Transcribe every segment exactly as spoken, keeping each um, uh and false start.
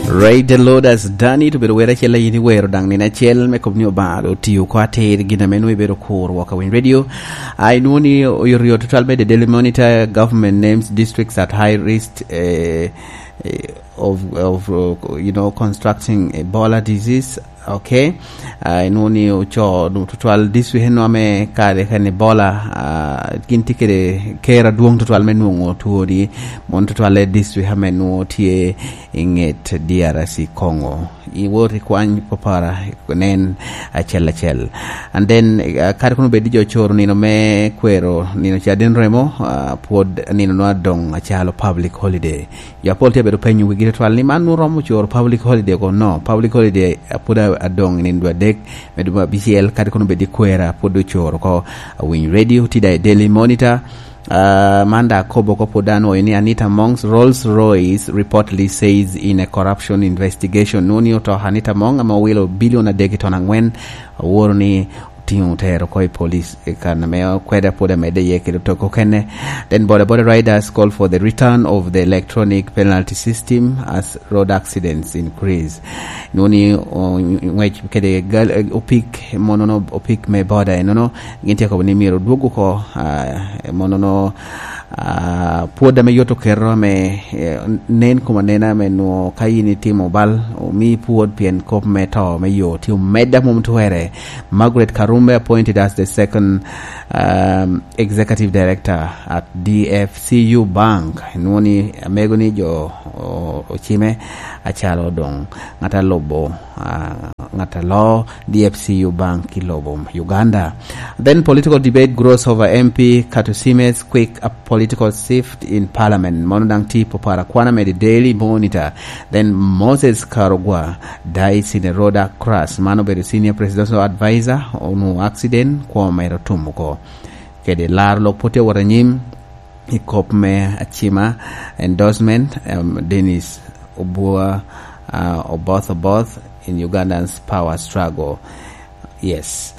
Right, the Lord has done it. Obedo wer acel a yin iwero daŋ nino acel me kop ni Obaŋa otio oko atir gin ame nwoŋo ibedo kur wok a Winy Radio. A inwoŋo ni oyotoyot tutwal me The Daily Monitor, government names districts at high risk, eh, eh, of, of, uh, you know, constructing Ebola disease. Okay. Ah, inwoŋo ni oco nu tutwal district eno ame kare kan Ebola, ah, gin tye kede ker adwoŋ tutwal me nwoŋo two ni, mon tutwal e district ame nwoŋo tye i ŋet D R C Congo. Iwot ikwany papara, nen acel acel. And then, ah, kadi kono bed ni jo coro nino me kwero nino caden remo, ah, pwod nino nwa doŋ acalo public holiday. Jo apol tye abedo penyo wigi tutwal ni man nwoŋo romo coro public holiday kono? Public holiday pwod a-, adoŋ i nino dwe adek, me dwe me abicel, kadi kono bed i kwera pwod ocoro oko. Awiny Radio, tye daŋ i Daily Monitor. Ah, man daŋ akobo oko pwod anwoyo ni Anita Among's Rolls Royce reportedly says in a corruption investigation. Nwoŋo ni oto Anita Among ame owilo bilion adek i ton angwen, aworo ni otiŋo otero oko i police i kan ame okwede pwod amedde iye kede otoko okene. Then bodaboda riders call for the return of the electronic penalty system as road accidents increase. Nwoŋo ni, o, ngwec kede gal-, opik, monono opik me boda enono, gin tye akobo ni myero odwog oko, ah, monono, ah, pwod ame yot oketo ame, eh, nen kom anena ame nwoŋo ka in itimo bal, omi pwod pien kop me to me yo tye omedde a mom twere. Margaret Karumbe appointed as the second, um, executive director at D F C U Bank. Nwoŋo ni amego ni jo o-, ocime acalo doŋ ŋat a lubo, ah, ŋat a loo D F C U Bank i lobo Uganda. Then political debate grows over M P Katusime's quick, a political shift in parliament. Mono daŋ tye i papara kwana me The Daily Monitor. Then Moses Karugwa dies in a road crash. Man obedo senior presidential advisor, onwoŋo accident, kwo mere otum oko. Kede laro lok pwod tye wot anyim i kop me acima, endorsement, em, Dennis Obua, ah, Oboth Oboth in Uganda's power struggle. Yes.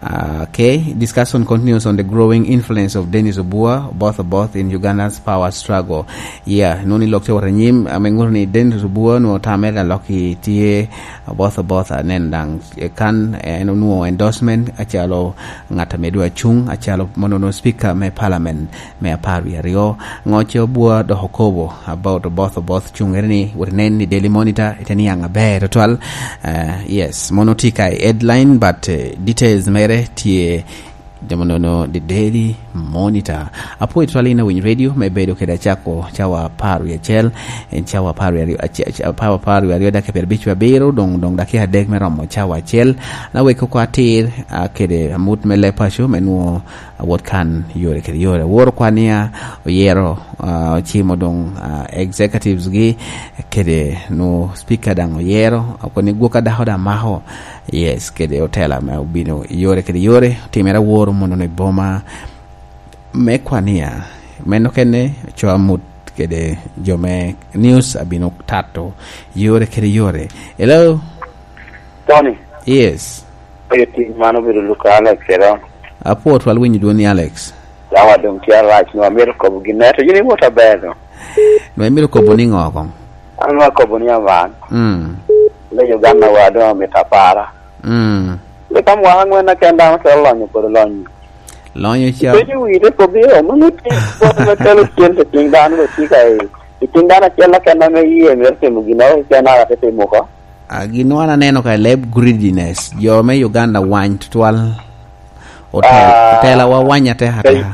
Ah, okay. Discussion continues on the growing influence of Dennis Obua, Oboth Oboth in Uganda's power struggle. Yeah, nwoŋo ni lok tye wot anyim, ame ŋuto ni Dennis Obua nwoŋo tamere alok i tye Oboth Oboth, anen daŋ, eh, kan, eh, en onwoŋo endorsement acalo ŋat ame dwa cuŋ acalo monono speaker me parliament me apar wie aryo. Ŋo ce Obua dok okobo about Oboth Oboth cuŋere ni, wot inen i Daily Monitor, ite niaŋ aber tutwal. Eh, yes, mono tye ka i headline, but, eh, details mere tye de monono The Daily Monitor. Apwoyo tutwal in Awiny Radio me bedo kede acako cawa apar wie acel, en cawa apar wie aryo, ace-, ace-, apar, apar wie aryo dakika pyerabic wie abiro, doŋ, doŋ dakika adek me romo cawa acel. Na wek oko atir, ah, kede amut me leb paco me nwoŋo awot kan yore kede yore. Aworo kwania oyero, ah, ocimo doŋ, ah, executives gi kede nwoŋo speaker daŋ oyero, okoni gwok a dako daŋ mako. Yes, kede otela me obino yore kede yore, otimere aworo mono i boma me kwania. Meno kene co amut kede jo me news abino tato yore kede yore. Hello? Tony. Yes. Oyo tim man obedo Luka Alex, ero. Apwoo twal winyo dwoni, Alex. Yawa doŋ tye arac, nwa myero kobo gin ento yin iwot aber do. Nwa imito kobo ni ŋo koŋ? An nwa kobo ni aman. Mm. Le Uganda wa doŋ amito apara. Mm. Le ka mwaka ŋwen aken dano twero lonyo kodi lonyo. Lonyo ca. Ipenyo wi te kobo ni o, mano tye kodi me kelo cen i tim dano, lo tye ka i, i tim dano acel aken ame iye myero timo ginnoro keken a te timo oko. Ah, gin wan aneno ka leb greediness. Jo me Uganda wany tutwal. Otel-, ah, otelawa wany atek pe-, ateka.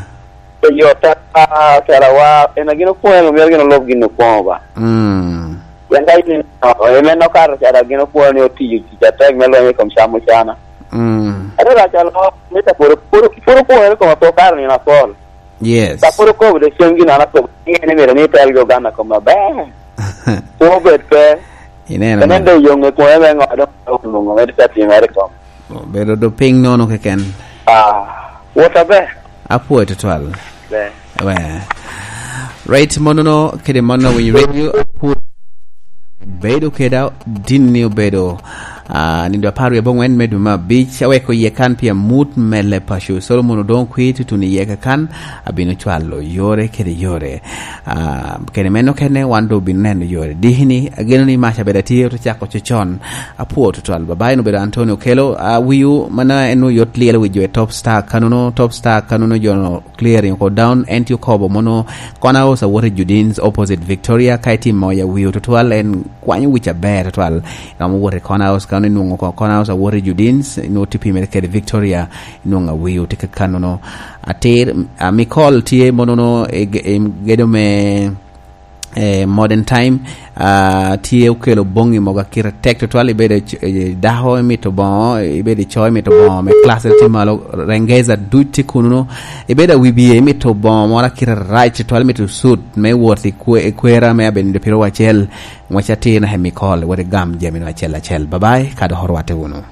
Pe yo te-, ah, otelawa, en a gin okwoŋo, en omyero gin olob gin okwoŋo ba. Mm. Pien ka in, oh, en en okato cara gin okwoŋo ni otiyo tic atek me lweny i kom cam ocana. Mm. Ate rac alo, mita puro, puro, puro okwoŋo i kom apol kare nino apol. Yes. Ka pwod okobo de cen gin an akobo, ni en myero ni tel Uganda kom aber. Pe obed pe. Ineno. Ene man. Doŋ yoŋe kome me ŋo, doŋ onwoŋo mere te timere kom. Obedo do piny nono keken. Ah, wot aber. Apwoyo tutwal. Ber. We. Right, monono, kede mono Winy Radio, apwoyo. Bedo keda, din ni obedo, Ah, nindo apar wie abongwen me dwe me abic, aweko iye kan pi amut mele paco. Solomon Odongo Kwir tutun iye kakan, abino cwalo yore kede yore. Ah, kede meno kene wan doŋ obino neno yore. Dikini, ageno ni mac abed atye ote cako cocon. Apwo tutwal. Babayi no obedo Antonio Kelo, ah, wiu, mana en oyot lyel wi jo e Top Star kanono, Top Star kanono jo clearing oko down, en tye okobo mono Corner House awot i Judins opposite Victoria, ka itimo ya wiu tutwal, en kwanyo wic aber tutwal. Romo wot i Corner House, ka inwoŋo ko Corner House awot i Judins, inwoŋo tye pimere kede Victoria, inwoŋo awiu tye kakanono. Atir, ah, Mikol tye monono i ge-, i gedo me, eh, Modern Time, ah, tye okelo boŋŋi mogo akite tek tutwal, ibedo i c-, i dako imito boŋo, ibedo i co imito boŋo me class tye malo, Rengeza duc tye kununo, ibedo awi bie imito boŋo moro akite rac tutwal, imito sut me wot i kwe-, i kwera me abedo piro wacel, ngwec atir naka i Mikol, wot igam jami no acel acel. Bye bye, ka dok orwatte wunu.